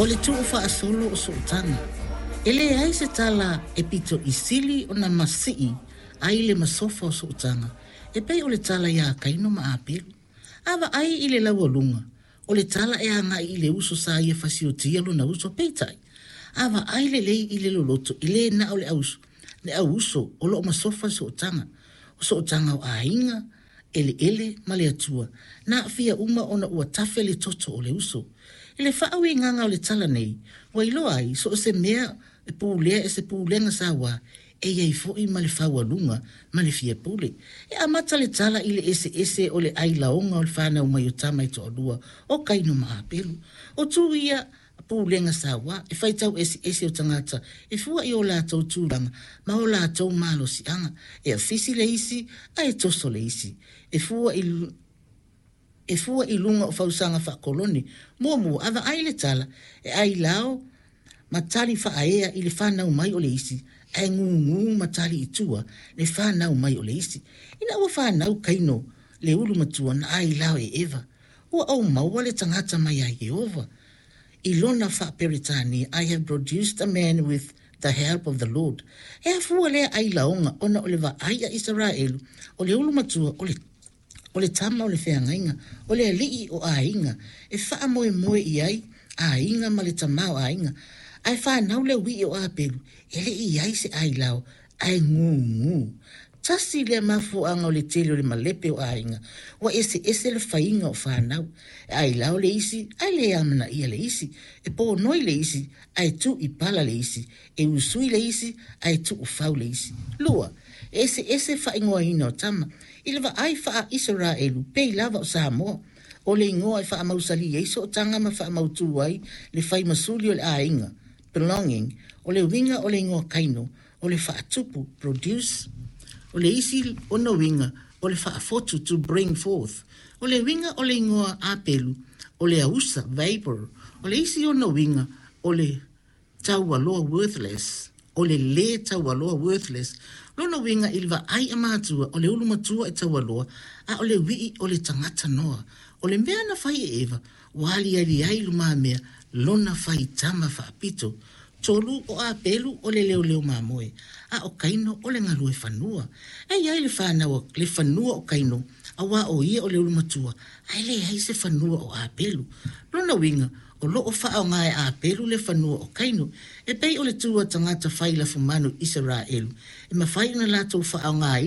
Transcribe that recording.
O le tuufaasolo o sootaga. E leai se tala e pito i sili ona masii ai le masofa o sootaga e pei o le tala iā Kaino ma Apelu. A vaai i le laualuga, o le tala e agai i le uso sa ia fasiotia lona uso, peitai, a vaai lelei i le loloto, e le na o le auuso o lo o masofa le sootaga. O sootaga o aiga, eleele ma le Atua, na aafia uma ona ua tafe le toto o le uso. I le faauigaga o le tala nei, ua iloa ai, so o se mea e pulea e se pulega sauā, e i ai foi ma le faualuga ma le fiapule. E amata le tala i le eseese o le ailaoga o le fanau mai o tama e toalua o Kaino ma Apelu. O tu ia pulega sauā, e faitau eseese o tagata e fua i o latou tulaga ma o latou malosiaga, e afisi le isi ae toso le isi. E fua i e fua i luga o fausaga faakolone. Muamua, a vaai le tala, e ailao ma tali faaea i le fanau mai o le isi, ae gugu ma tali i tua le fanau mai o le isi. Ina ua fanau Kaino le ulu matua na ailao e Eva, Ua ou maua le tagata mai ia Ieova. I lona faa-Peretania, I have produced a man with the help of the Lord. E afua lea ailaoga ona o le vaai a Isaraelu, o le ulu matua, o le o le tama o le feagaiga, o le alii o aiga, e faamoemoe i ai aiga ma le tama o aiga. Ae fanau le uii o Apelu, e le i ai se ailao, ae gugu. Tasi lea mafuaaga o le tele o le malepe o aiga, ua eseese le faiga o fanau. E ailao le isi, ae le amanaia le isi. E ponoi le isi, ae tuu i pala le isi. E usui le isi, ae tuufau le isi. 2, e eseese faaigoaina o tama. I le vaai faa-Isaraelu, pei lava o Samoa, o le igoa e faamausali ai sootaga ma faamautu ai le fai masuli o le aiga, belonging, o le uiga o le igoa Kaino, o le faatupu, produce, o le isi ona uiga, o le faafotu, to bring forth. O le uiga o le igoa Apelu, o le ausa, vapor, o le isi ona uiga, o le taualoa, worthless, o le lē taualoa, worthless. Lona uiga i le vaai a matua, o le ulu matua e taualoa, a o le uii o le tagata noa. O le mea na fai e Eva, ua aliali ai i lumamea lona faitama faapito. 3, o Apelu o le leoleo mamoe, a o Kaino o le galue fanua. E i ai le fanau le fanua o Kaino, auā o ia o le ulu matua, ae leai se fanua o Apelu. Lona uiga, o lo o faaaoga e Apelu le fanua o Kaino, e pei o le tu a tagata fai lafumanu Isaraelu, e mafai ona latou faaaogaina.